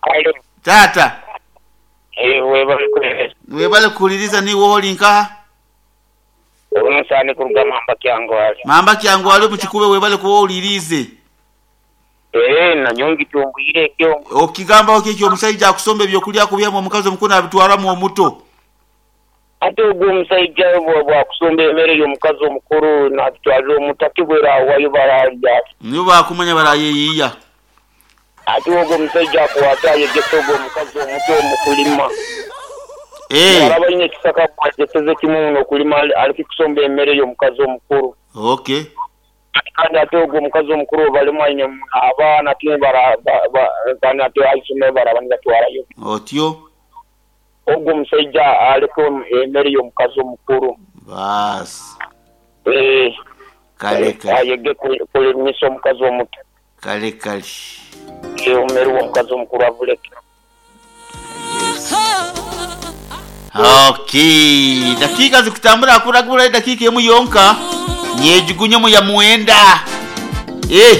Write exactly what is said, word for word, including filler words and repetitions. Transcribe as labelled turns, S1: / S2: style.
S1: Alo.
S2: Tata.
S1: Eh, webale kuhereza.
S2: Webale kuhuliriza niwe oli nkaha?
S1: Omusani kuruga Mamba Kyangwali.
S2: Mamba Kyangwali mukikube, webale kuba owulirize.
S1: Eh, nanyongi tumbwire ekyo.
S2: Okigambaho ki ekyo omusajja akusomba ebyokulya akubyamu omukazi omukulu nabitwaramu omuto?
S1: Ate ogwo omusajja bwakusomba emmere y'omukazi omukulu natutwalira omuto, ate bwera awayo baralya.
S2: Nibo bakumanya barayeyiya.
S1: Ate ogwo omusajja akuwata ayegesa ogwo omukazi omuto omukulima.
S2: Eh.
S1: Araba ine ekisaka bwageseze kimu n'okulima, aleke kusomba emmere y'omukazi omukulu.
S2: Okay.
S1: Kandi ate ogwo omukazi omukulu balimu aine abaana ate bara kandi ate aisome baraba nibatwarayo.
S2: Otyo.
S1: Ogwo omusajja aleke emmere y'omukazi omukulu.
S2: Baasi.
S1: Eh.
S2: Kale kale.
S1: Ayege kulimisa omukazi omuto.
S2: Kale kale.
S1: Emmere y'omukazi omukulu avuleke.
S2: Yes. Okay. Dakika zikutambula akuragura dakika emu yonka. Nyejugunye mu ya muenda. Eh.